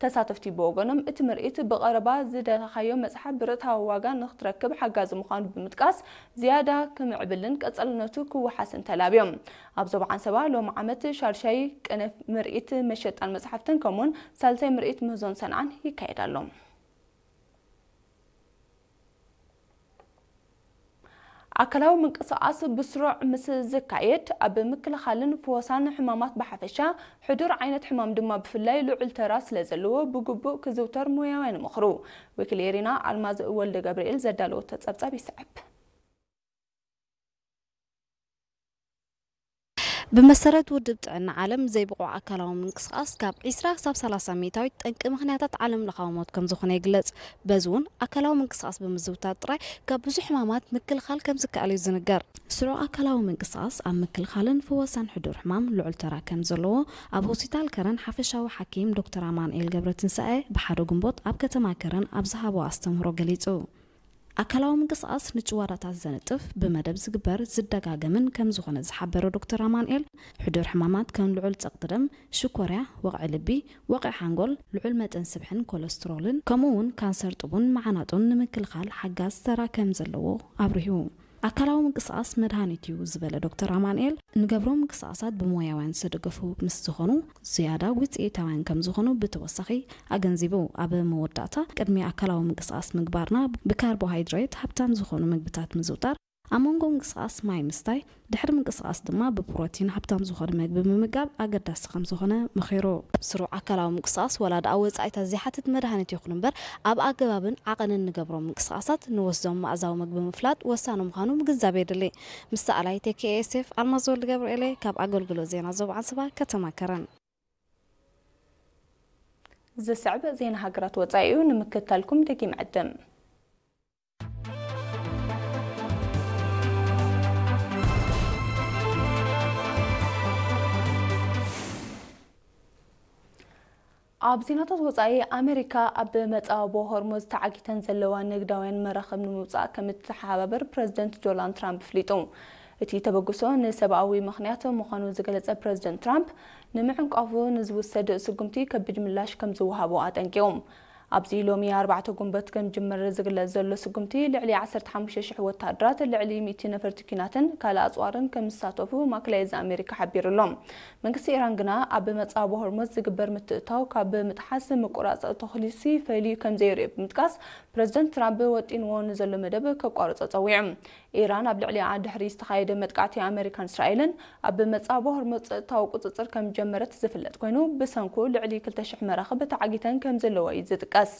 ተሳተፍቲ ብወገኖም፣ እቲ ምርኢት ብቐረባ ዝደለኻዮ መጽሓፍ ብርታዊ ዋጋ ንኽትረክብ ሓጋዚ ምዃኑ ብምጥቃስ፣ ዝያዳ ክምዕብልን ቀጻልነቱ ክወሓስን ተላብዮም። ኣብ ዞባ ዓንሰባ ሎም ዓመት ሻድሻይ ቅነ ምርኢት መሸጣን መጽሓፍትን ከምኡውን ሳልሳይ ምርኢት ምህዞን ሰንዓን ይካየድ ኣሎ። ኣካላዊ ምንቅስቓስ ብስሩዕ ምስ ዝካየድ፣ ኣብ ምክልኻልን ፍወሳን ሕማማት ብሓፈሻ፣ ሕዱር ዓይነት ሕማም ድማ ብፍላይ ልዑል ተራ ስለ ዘለዎ፣ ብግቡእ ክዝውተር ሞያውያን ይመኽሩ። ወኪል ኤሪና ኣልማዝ ወልደ ገብርኤል ዘዳለወቶ ጸብጻብ ይስዕብ። ብመሰረት ውድብ ጥዕና ዓለም፣ ዘይብቑዕ ኣካላዊ ምንቅስቓስ ካብ ዒስራ ክሳብ ሰላሳ ሚእታዊት ጠንቂ ምኽንያታት ዓለም ለኻዊ ሞት ከም ዝኾነ ይግለጽ። በዚ እውን ኣካላዊ ምንቅስቓስ ብምዝውታር ጥራይ ካብ ብዙሕ ሕማማት ምክልኻል ከም ዝከኣል እዩ ዝንገር። ስሩዕ ኣካላዊ ምንቅስቓስ ኣብ ምክልኻልን ፍወሳን ሕዱር ሕማም ልዑል ተራ ከም ዘለዎ ኣብ ሆስፒታል ከረን ሓፈሻዊ ሓኪም ዶክተር ኣማንኤል ገብረትንሳኤ ብሓደ ግንቦት ኣብ ከተማ ከረን ኣብ ዝሃቦ ኣስተምህሮ ገሊጹ። ኣካላዊ ምንቅስቓስ ንጭዋዳታት ዘንጥፍ፣ ብመደብ ዝግበር ዝደጋገምን ከም ዝኾነ ዝሓበረ ዶክተር ኣማንኤል፣ ሕዱር ሕማማት ከም ልዑል ጸቕጢ ደም፣ ሽኮርያ፣ ወቕዒ ልቢ፣ ወቕዒ ሓንጎል፣ ልዑል መጠን ስብሕን ኮለስትሮልን፣ ከምኡ እውን ካንሰር ጡብን መዓናጡን ንምክልኻል ሓጋዝ ተራ ከም ዘለዎ ኣብሪሁ። ኣካላዊ ምንቅስቓስ መድሃኒት እዩ ዝበለ ዶክተር ኣማንኤል፣ ንገብሮ ምንቅስቓሳት ብሞያውያን ዝተደገፉ ምስ ዝኾኑ ዝያዳ ውፅኢታውያን ከም ዝኾኑ ብተወሳኺ ኣገንዚቡ። ኣብ መወዳእታ፣ ቅድሚ ኣካላዊ ምንቅስቓስ ምግባርና ብካርቦሃይድሬት ሃብታም ዝኾኑ ምግብታት ምዝውጣር፣ ኣብ መንጎ ምንቅስቓስ ማይ ምስታይ፣ ድሕሪ ምንቅስቓስ ድማ ብፕሮቲን ሃብታም ዝኾነ ምግቢ ምምጋብ ኣገዳሲ ከም ዝኾነ መኺሩ። ስሩዕ ኣካላዊ ምንቅስቓስ ዋላ ደኣ ወጻኢታት ዘይሓትት መድሃኒት ይኹን እምበር፣ ኣብ ኣገባብን ዓቐንን ንገብሮም ምንቅስቓሳት ንወስዶም መኣዛዊ ምግቢ ምፍላጥ ወሳኒ ምዃኑ ምግንዛብ የድሊ። ምስ ሰኣላይ ቴ ኬ ኤስ ኤፍ ኣልማዝ ወልደ ገብርኤለ ካብ ኣገልግሎት ዜና ዞባ ዓንሰባ ከተማ ከረን። ዝስዕብ ዜና ሃገራት ወጻኢ እዩ፣ ንምክትታልኩም ደጊም ዕድም። ኣብ ዜናታት ወጻኢ፣ ኣሜሪካ ኣብ መጻብቦ ሆርሙዝ ተዓጊተን ዘለዋ ንግዳውያን መራኽብ ንምውጻእ ከም እትተሓባበር ፕረዚደንት ዶናልድ ትራምፕ ኣፍሊጡ። እቲ ተበግሶ ንሰብኣዊ ምኽንያት ምዃኑ ዝገለጸ ፕረዚደንት ትራምፕ፣ ንምዕንቃፉ ንዝውሰድ ስጉምቲ ከቢድ ምላሽ ከም ዝወሃቦ ኣጠንቂቑ። ኣብዚ ሎሚ ኣርባዕተ ጉንበት ከም ዝጅመር ዝግለጽ ዘሎ ስጉምቲ፣ ልዕሊ ዓሰርተ ሓሙሽተ ሽሕ ወተሃደራት፣ ልዕሊ ሚእቲ ነፈርቲ ኲናትን ካልእ ኣጽዋርን ከም ዝሳተፉ ማእከላይ እዚ ኣሜሪካ ሓቢሩ ኣሎ። መንግስቲ ኢራን ግና ኣብ መጻብቦ ሆርሙዝ ዝግበር ምትእትታው ካብ ምጥሓስ ምቁራጽ ተኹሲ ፈይልዩ ከም ዘይርእዮ ብምጥቃስ፣ ፕረዚደንት ትራምፕ ወጢንዎ ንዘሎ መደብ ከቋርጾ ጸዊዑ። ኢራን ኣብ ልዕሊኣ ድሕሪ ዝተኻየደ መጥቃዕቲ ኣሜሪካን እስራኤልን ኣብ መጻብቦ ሆርሙዝ ጸጥታዊ ቁጽጽር ከም ዝጀመረት ዝፍለጥ ኮይኑ፣ ብሰንኩ ልዕሊ ክልተ ሽሕ መራኽብ ተዓጊተን ከም ዘለዋ እዩ ዝጥቀስ።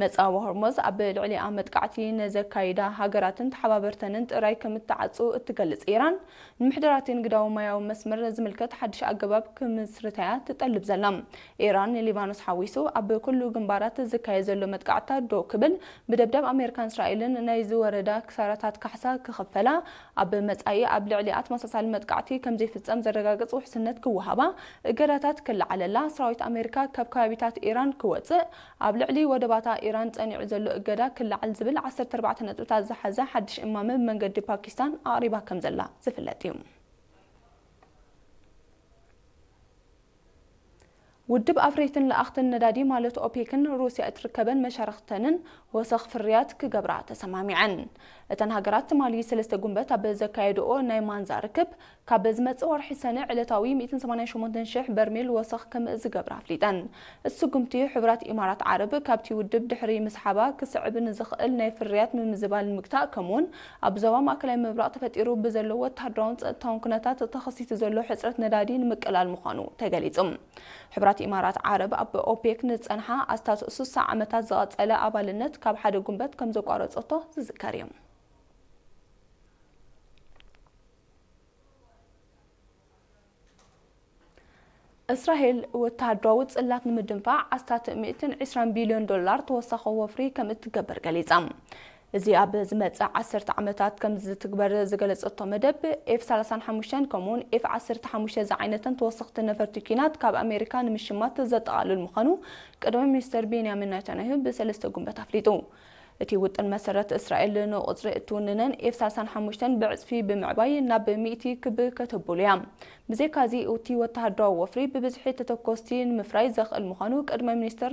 መጻብቦ ሆርሙዝ ኣብ ልዕሊኣ መጥቃዕቲ ነዘካይዳ ሃገራትን ተሓባበርተንን ጥራይ ከም እትዓጹ እትገልጽ ኢራን፣ ንምሕደራቲ ንግዳዊ ማያዊ መስመር ዝምልከት ሓድሽ ኣገባብ ክምስርታ'ያ ትጠልብ ዘላ። ኢራን ንሊባኖስ ሓዊሱ ኣብ ኩሉ ግንባራት ዝካየድ ዘሎ መጥቃዕትታት ደው ክብል፣ ብደብዳብ ኣሜሪካን እስራኤልን ናይ ዝወረዳ ክሳራታት ካሕሳ ክኽፈላ፣ ኣብ መጻኢ ኣብ ልዕሊኣ ተመሳሳሊ መጥቃዕቲ ከም ዘይፍጸም ዘረጋግጽ ውሕስነት ክወሃባ፣ እገዳታት ክለዓለላ፣ ሰራዊት ኣሜሪካ ካብ ከባቢታት ኢራን ክወጽእ፣ ኣብ ልዕሊ ወደባታ ኢራን ጸኒዑ ዘሎ እገዳ ክለዓል ዝብል ዓሰርተ ኣርባዕተ ነጥብታት ዝሓዘ ሓድሽ እማመ ብመንገዲ ፓኪስታን ኣቕሪባ ከም ዘላ ዝፍለጥ እዩ። ውድብ ኣፍረይትን ለኣኽትን ነዳዲ ማለት ኦፔክን ሩስያ እትርከበን መሻርኽተንን ወሰኽ ፍርያት ክገብራ ተሰማሚዐን። እተን ሃገራት ትማሊ ሰለስተ ጉንበት ኣብ ዘካየድኦ ናይ ማንዛ ርክብ፣ ካብ ዝመጽእ ወርሒ ሰነ ዕለታዊ ሚእትን ሰማንያን ሸሞንተን ሽሕ በርሜል ወሰኽ ከም ዝገብራ ኣፍሊጠን። እቲ ስጉምቲ ሕቡራት ኢማራት ዓረብ ካብቲ ውድብ ድሕሪ ምስሓባ ክስዕብ ንዝኽእል ናይ ፍርያት ምምዝባል ንምግታእ፣ ከምኡውን ኣብ ዞባ ማእከላይ ምብራቕ ተፈጢሩ ብዘሎ ወተሃደራውን ጸጥታውን ኩነታት ተኸሲቱ ዘሎ ሕጽረት ነዳዲ ንምቅላል ምዃኑ ተገሊጹ። ሕቡራት ኢማራት ዓረብ ኣብ ኦፔክ ንዝጸንሓ ኣስታት ሱሳ ዓመታት ዝቐጸለ ኣባልነት ካብ ሓደ ጉንበት ከም ዘቋረጸቶ ዝዝከር እዩ። እስራኤል ወተሃደራዊ ጽላት ንምድንፋዕ ኣስታት ሚእትን ዕስራን ቢልዮን ዶላር ተወሳኺ ወፍሪ ከም እትገብር ገሊጻ። እዚ ኣብ ዝመጽእ ዓሰርተ ዓመታት ከም ዝትግበር ዝገለጸቶ መደብ፣ ኤፍ ሰላሳን ሓሙሽተን ከምኡውን ኤፍ ዓሰርተ ሓሙሽተ ዝዓይነተን ተወሰኽቲ ነፈርቲ ኲናት ካብ ኣሜሪካ ንምሽማት ዘጠቓልል ምዃኑ ቀዳማይ ሚኒስተር ቤንያሚን ናታንያሁ ብሰለስተ ጉንበት ኣፍሊጡ። እቲ ውጥን መሰረት እስራኤል ንቁጽሪ እትውንነን ኤፍ ሰላሳን ሓሙሽተን ብዕጽፊ ብምዕባይ ናብ ሚእቲ ክብ ከተብሉ እያ። ብዘይካዚ፣ እቲ ወተሃደራዊ ወፍሪ ብብዝሒ ተተኮስቲ ንምፍራይ ዘኽእል ምዃኑ ቀዳማይ ሚኒስተር